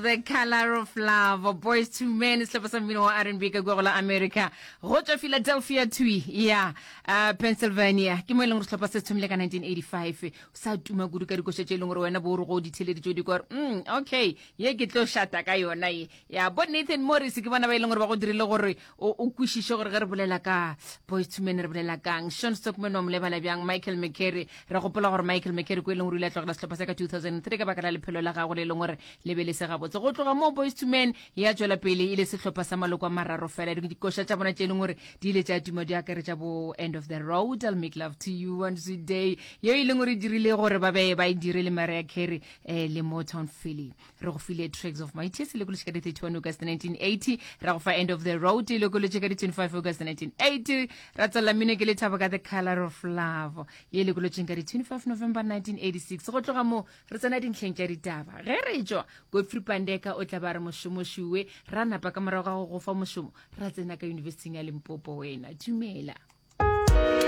The Color of Love, Boys to Men, sehlopha sa mmino wa R&B ka kua go la America, go tšwa Philadelphia twi ya uh, Pennsylvania. Ke mo e leng gore sehlopha se se thomile ka 1985, sa tuma kudu ka dikoša tše e leng gore wena bo o re go di theleditše o di kwa gore mm, okay, ye ke tlo šata ka yona ye. Ya bo Nathan Morris ke bona ba e leng gore ba go dirile gore o o kwešiše gore ge re bolela ka Boys to Men re bolela kang. Sean Stockman wa mo lebala bjang, Michael McCary Re gopola gore Michael McCary ko e leng gore o ile a tlogela sehlopha se ka 2003 ka baka la lephelo la gagwe le e leng gore le be le se gabotse. Go tloga moo Boyz II Men ya tšwela pele e le sehlopha sa maloko a mararo fela. Dikoša tša bona tše e leng gore di ile tša tuma di akaretša bo End of the Road, I'll Make Love to You, One Sweet Day, yeo e leng gore e dirile gore ba be ba e dire le Mariah Carey eh, le Motown Philly. Re go file Tracks of My Tears e lokolotše ka di 31 August 1980, ra go fa End of the Road e lokolotše ka di 25 August 1980, ra tswelela mmino ke lethabo ka The Color of Love ye e lokolotšeng ka di 25 November 1986. Go tloga moo re tsena dintlheng tša ditaba. Ge re tšwa, Godfrey Pandeka o tla ba re mošomošuwe, ra napa ka morago ga go go fa mošomo ra tsena ka Yunibesithing ya Limpopo. Wena dumela.